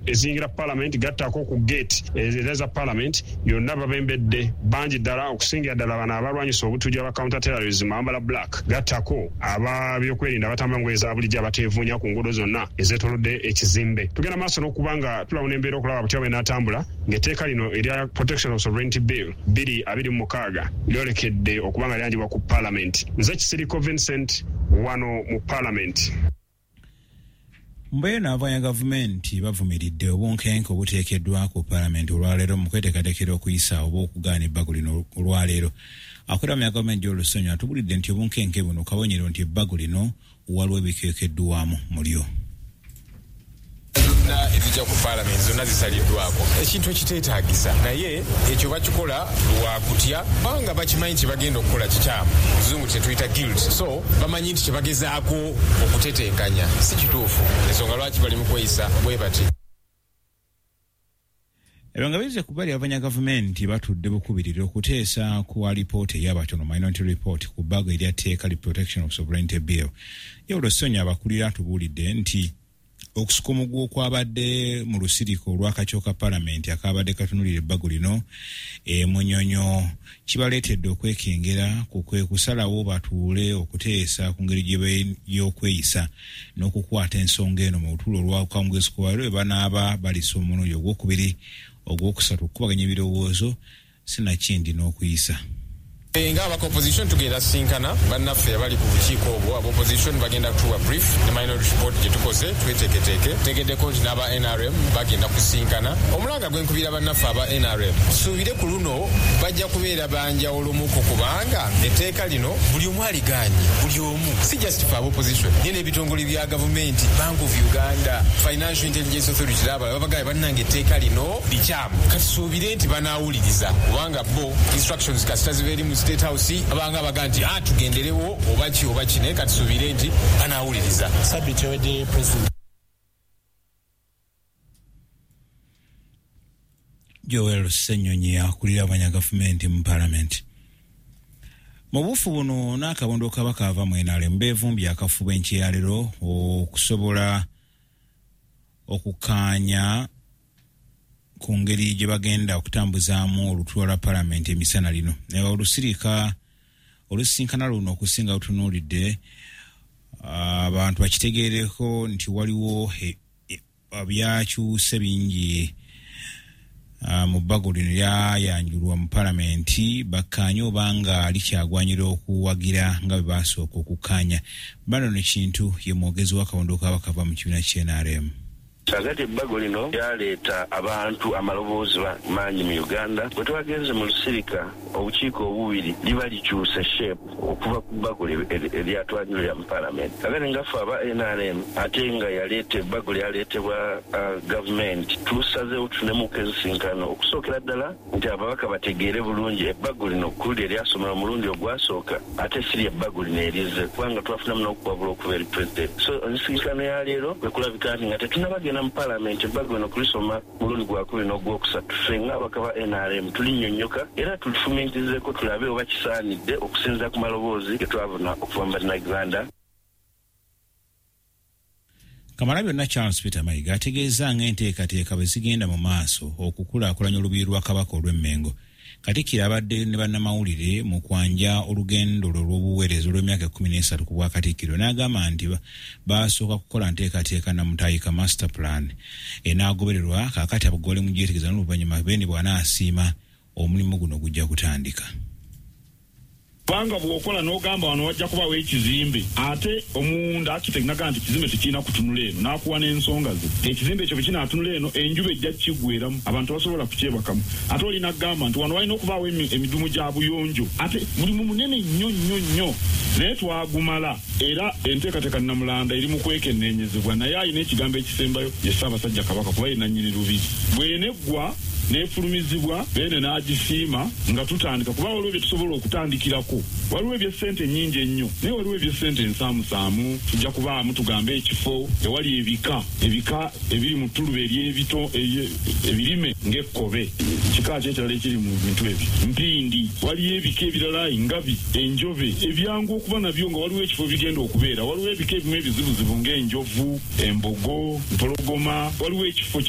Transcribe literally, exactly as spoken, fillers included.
Eziyingira Palamenti, gattako ku gate era za Palamenti yonna babembedde bangi ddala, okusingira ddala bano abalwanyisa obutujju aba counter terrorism abambala black, gattako ababyokwerinda abatambula ngoye za bulijjo abateevuunya ku nguudo zonna ezeetoolodde ekizimbe. Tugenda maaso n'okuba nga tulawuna embeera okulaba butya bw'enaatambula ng'etteeka lino erya Protection of Sovereignty Bill bbiri abiri mu mukaaga lyolekedde okuba nga lyanjibwa ku Palamenti. Nze Kisiriko Vincent wano mu Palamenti. Mbeera n'abavuganya gavumenti bavumiridde obunkenke obuteekeddwa ku Palamenti olwaleero mu kweteekateekera okuyisa oba okugaana ebbago lino olwaleero. Akulira mu ya gavumenti Joel Ssenyonyi atubulidde nti obunkenke buno kabonero nti ebbago lino waliwo ebikeekeddwamu mu lyo. Zonna ezijja ku Paalamenti zonna zisaliddwako, ekintu ekiteetaagisa, naye ekyo bakikola lwa kutya, kubanga bakimanyi kye bagenda okukola kikyamu. Muzungu kyetuyita guilt, so bamanyi nti kye bagezaako okutetenkanya si kituufu, ensonga lwaki bali mu kweyisa bwe bati. Ebyo nga bizze ku bbali, abavuganya gavumenti batudde bukubirire okuteesa ku alipoota ey'abatono, minority report, ku bbago erya tteeka li Protection of Sovereignty Bill. Joel Ssenyonyi abakulira atubuulidde nti okusika omuguwa okwabadde mu lusirika olw'akakiiko ka Palamenti akabadde katunulira ebbago lino e Munyonyo kibaleetedde okwekengera ku kwe kusalawo batuule okuteesa ku ngeri y'okweyisa n'okukwata ensonga eno mu lutuula olw'akawungeezi k'olwaleero bwe banaaba balisa omulundi ogwokubiri, ogwokusatu okukubaganya ebirowoozo sinakindi n'okuyisa. Nga aba opposition tugenda sinkana bannaffe abali ku bukiiko obwo. Aba opposition bagenda kutuwa brief ne minority report gye tukoze, tweteeketeeke. Tegeddeko nti n'aba N R M bagenda kusinkana. Omulanga gwe nkubira bannaffe aba N R M, tusuubire ku luno bajja kubeera banjawulomuko, kubanga etteeka lino buli omu aligaanye, buli omu, si just fe aba opposition, naye n'ebitongole bya gavumenti, Bank of Uganda, Financial Intelligence Authority n'abalala babagaye, bannange, etteeka lino likyamu. Katusuubire nti banaawuliriza, kubanga bo instructions kasita ziba eri mu State House abanga baga nti ah, tugenderewo oba ki oba ki, naye katusuubire nti banaawuliriza. Sabiti ewedde President Joel Ssenyonyi akulira abanya gavumenti mu Palamenti. Mu buufu buno n'akabondo kabaka ava mu N R M beevumbye akafubo enkyeyaliro okusobola okukkaanya ku ngeri gye bagenda okutambuzaamu olutuula lwa Palamenti emisana lino. Olusirika olusisinkana luno okusinga lutunuulidde abantu bakitegeereko nti waliwo byakyuse bingi mu bbago lino lyayanjulwa mu Palamenti, bakkaanye obanga likyagwanyira okuwagira nga bwe basooka okukkaanya. Bano ne Kintu ye mwogezi w'akabondo k'abakava mu kibiina ky'N R M. Kakati ebbago lino lyaleeta abantu amaloboozi mangi mu Uganda. Bwe twagenze mu lusirika obukiiko obubiri, liba likyuse shape okuva ku bbago eryatwanjulira mu Palamenti. Kakati nga ffe aba N R M, ate nga yaleeta ebbago lyaleetebwa uh, gavumenti, tusazeewo tunemuko ensisinkano okusookera ddala nti ababaka bategeere bulungi ebbago lino kuli eryasomerwa omulundi ogwasooka, ate si lyebbago lino erizze, kubanga twafunamu n'okuwabula okuva eri Pulezidenti. So ensisinkano ya leero kwe kulabika nti nga tetunnabagenda mu Palamenti ebbago lino kulisoma mulundi gwakubiri n'ogwokusatu, ffe ng'ababaka ba N R M tulinnyonnyoka era tulifumiitirizeeko tulabe oba kisaanidde okusinziira ku maloboozi ge twavuna okuva mu Bannayuganda. Kamalabyonna Charles Peter Mayiga ategeeza ng'enteekateeka bwe zigenda mu maaso okukulaakulanya olubiri lwa Kabaka olw'Emmengo. Katikkiro abadde ne bannamawulire mu kwanja olugendo lwe olw'obuweereza olw'emyaka ekkumi n'esatu ku bwakatikkiro, n'agamba nti basooka kukola nteekateeka namutayika, master plan, enaagobererwa. Kaakati abagole mugyetegereza n'oluvannyuma Beene bw'anaasiima omulimu guno gujja kutandika. Kubanga bw'okola n'ogamba wano wajja kubawo ekizimbe, ate omunda architect naga nti ekizimbe tekirina kutunula eno, n'akuwa n'ensonga ze, ekizimbe ekyo bwe kinaatunula eno enjuba ejja kiggweramu, abantu basobola kukyebakamu. Ate olina kugamba nti wano walina okubaawo emidumu gya buyonjo, ate mulimu munene nnyo nnyo nnyo, naye twagumala. Era enteekateeka Namulanda eri mu kwekenneenyezebwa, naye alina ekigambo ekisembayo ye Ssaabasajja Kabaka, kuba ye nannyini lubiri. Bw'eneggwa N'efulumizibwa, Beene n'agisiima nga tutandika, kuba waliwo bye tusobola okutandikirako. Waliwo ebyessente ennyingi ennyo, naye waliwo ebyessente ensaamusaamu. Tujja kubaamu, tugambe, ekifo ewali ebika ebika ebiri mu ttuluba ery'ebito ebirime ng'ekkobe, kika ki ekirala ekiri mu bintu ebyo, mpindi, waliyo ebika ebirala, engabi, enjobe, ebyangu okuba nabyo nga waliwo ekifo bigenda okubeera. Waliwo ebika ebimu ebizibuzibu ng'enjovu, embogo, mpologoma, waliwo ekifo.